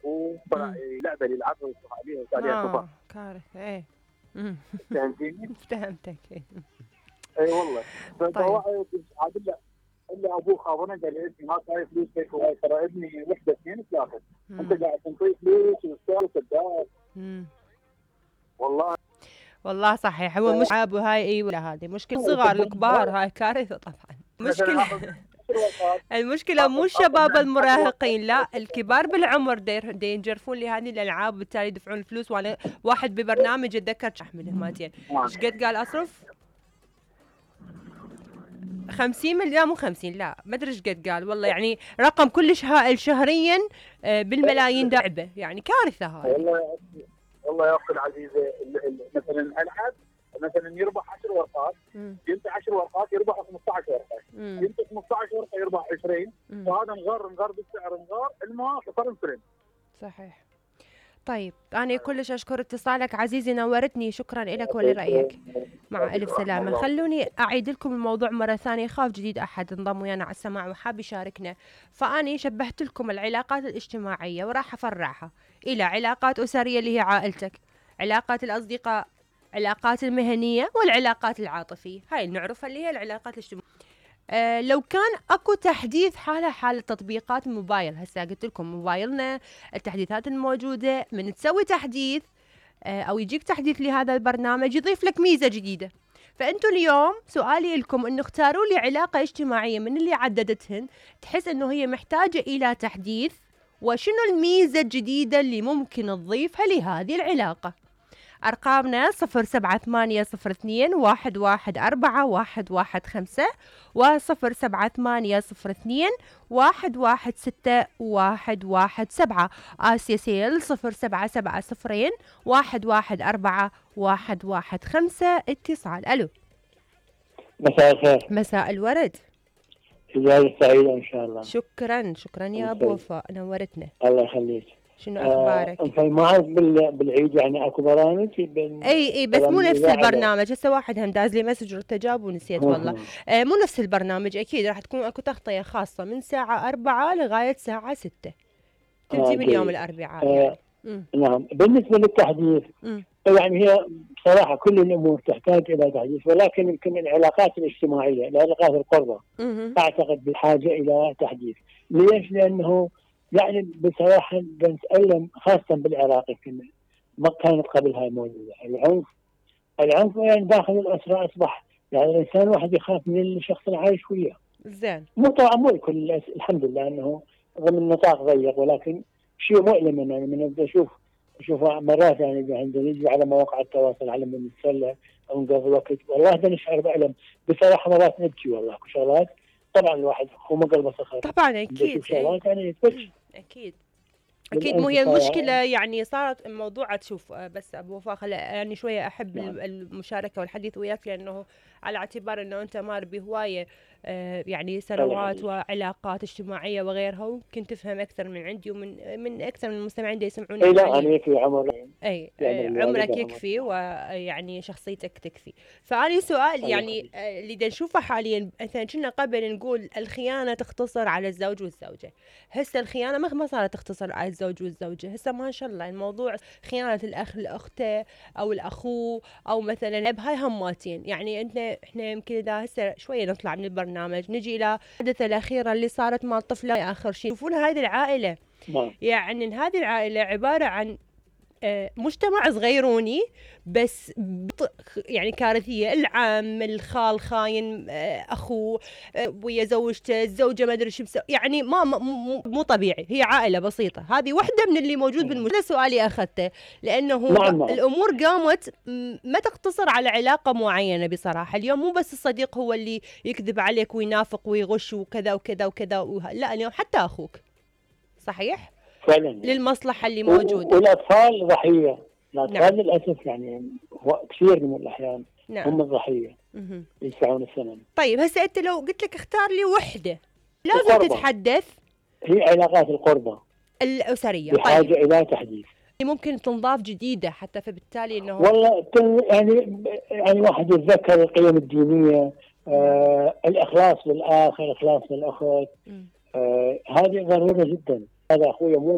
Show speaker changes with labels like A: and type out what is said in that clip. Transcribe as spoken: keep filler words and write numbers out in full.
A: اخوه طلع لعبه اللي يلعبها ويصرخ عليها وصار عليها
B: اه
A: خطا.
B: كارثه. ايه
A: فهمتيني؟
B: فهمتك.
A: اي والله.
B: طيب
A: عاد الا الا ابوه خابرنا قال لي ابني ما صاير فلوس هيك وهاي، ترى ابني وحده اثنين ثلاثه، انت قاعد تنطيه فلوس وتسولف وكذاب. والله
B: والله صحيح. هو مش عاب وهاي اي ولا هذه مشكله صغار الكبار، هاي كارثه طبعا. مشكله المشكله مو الشباب المراهقين، لا الكبار بالعمر دي ينجرفون لهذه الالعاب وبالتالي يدفعون الفلوس. وانا واحد ببرنامج اتذكر احمله مالتين ايش قد قال اصرف خمسين مليون، مو خمسين لا ما ادري ايش قد قال والله، يعني رقم كلش هائل شهريا بالملايين لعبه، يعني كارثه هاي.
A: والله والله يا اختي العزيزه مثلا العب مثلا يربح عشر ورقات، ينطي عشر ورقات يربح خمسطعش ورقه، ينطي خمسطعش ورقه يربح عشرين، وهذا مغر مغر بالسعر مغر الماء خسر الفرن.
B: صحيح. طيب أنا كلش أشكر اتصالك عزيزي، نورتني، شكرا لك ولرأيك. مع ألف سلامة. خلوني أعيد لكم الموضوع مرة ثانية، خاف جديد أحد انضم ويانا على السماع وحاب يشاركنا. فأنا شبهت لكم العلاقات الاجتماعية وراح أفرعها إلى علاقات أسرية اللي هي عائلتك، علاقات الأصدقاء، علاقات المهنية، والعلاقات العاطفية. هاي نعرفها اللي هي العلاقات الاجتماعية. أه لو كان اكو تحديث حالة حالة تطبيقات الموبايل، هسه قلت لكم موبايلنا التحديثات الموجودة من تسوي تحديث أه او يجيك تحديث لهذا البرنامج يضيف لك ميزة جديدة. فانتوا اليوم سؤالي لكم انه اختاروا لي علاقة اجتماعية من اللي عددتهن تحس انه هي محتاجة الى تحديث، وشنو الميزة الجديدة اللي ممكن تضيفها لهذه العلاقة. أرقامنا صفر سبعة ثمانية صفر اثنين واحد واحد أربعة واحد واحد خمسة وصفر سبعة ثمانية صفر اثنين واحد واحد ستة واحد واحد سبعة. آسيا سيل صفر سبعة سبعة صفرين واحد واحد أربعة واحد واحد خمسة. اتصال. ألو.
C: مساء الخير.
B: مساء الورد.
C: إجازة سعيدة إن شاء الله.
B: شكرا شكرا يا أبو وفاء، نورتنا.
C: الله يخليك.
B: شنو اخبارك؟
C: آه ما اعرف بالعيد يعني اكو برامج
B: اي اي بس مو نفس البرنامج. هسه واحد هم داز لي مسج ورتجاب ونسيت والله. آه مو نفس البرنامج اكيد، راح تكون اكو تغطيه خاصه من ساعه أربعة لغايه ساعه ستة تنتهي آه من يوم الاربعاء.
C: آه يعني. نعم. بالنسبه للتحديث م. يعني هي بصراحه كل الامور تحتاج الى تحديث، ولكن يمكن العلاقات الاجتماعيه العلاقات القربى اعتقد بحاجه الى تحديث. ليش؟ لانه يعني بصراحة بنتألم خاصة بالعراق، يمكن ما كانت قبل هاي موجودة. العنف العنف يعني داخل الأسرة أصبح يعني الإنسان واحد يخاف من الشخص اللي عايش وياه.
B: زين.
C: مو طبعا مو الكل، الحمد لله أنه ضمن نطاق ضيق، ولكن شيء مؤلم يعني من أبدأ أشوف أشوف مرات يعني عندنا نجي على مواقع التواصل على من نتسلى أو نقضي وقت، والله ده نشعر بألم بصراحة. مرات نبكي والله شغلات. طبعا الواحد هو ما قلبه صخر
B: طبعا اكيد
C: شغلات يعني يتبكي.
B: اكيد اكيد. مو هي المشكله يعني صارت الموضوع تشوف. بس ابو وفاء خل يعني شويه احب نعم. المشاركه والحديث وياك، لانه على اعتبار انه انت مار بهوايه يعني سنوات وعلاقات اجتماعيه وغيرها، وممكن تفهم اكثر من عندي ومن من اكثر من المستمعين اللي يسمعوني.
C: اي لا انا يكفي عمر.
B: اي يعني عمرك يكفي ويعني شخصيتك تكفي. فأنا سؤال يعني اللي دا نشوفه حاليا مثلا كنا قبل نقول الخيانه تختصر على الزوج والزوجه، هسه الخيانه ما صارت تختصر على الزوج والزوجه، هسه ما شاء الله الموضوع خيانه الاخ لاخته او الاخو او مثلا بهاي هماتين. يعني انت احنا يمكن اذا هسه شويه نطلع من البرنامج نجي الى الحادثه الاخيره اللي صارت مع الطفله اخر شيء. شوفون هذه العائله ما. يعني هذه العائله عباره عن مجتمع صغيروني بس يعني كارثيه. العم الخال خاين اخوه ويا زوجته، الزوجه ما ادري شو مسوي، يعني ما مو, مو طبيعي. هي عائله بسيطه. هذه واحده من اللي موجود بالمجتمع. سؤالي اخذته لانه
C: نعم.
B: الامور قامت ما تقتصر على علاقه معينه بصراحه. اليوم مو بس الصديق هو اللي يكذب عليك وينافق ويغش وكذا وكذا وكذا وه... لا اليوم حتى اخوك. صحيح
C: فعلا
B: للمصلحه اللي موجوده.
C: والاطفال ضحيه. الاطفال نعم. للاسف يعني كثير من الاحيان نعم. هم الضحيه يدفعون الثمن.
B: طيب هسه انت لو قلت لك اختار لي وحده لازم القربة. تتحدث
C: هي علاقات القربة
B: الاسريه
C: بحاجه
B: طيب.
C: الى تحديث
B: ممكن تنضاف جديده حتى، فبالتالي انه
C: والله يعني يعني واحد يتذكر القيم الدينيه، آه الاخلاص للاخ، الاخلاص للاخت، آه هذه ضروره جدا. هذا اخوي مو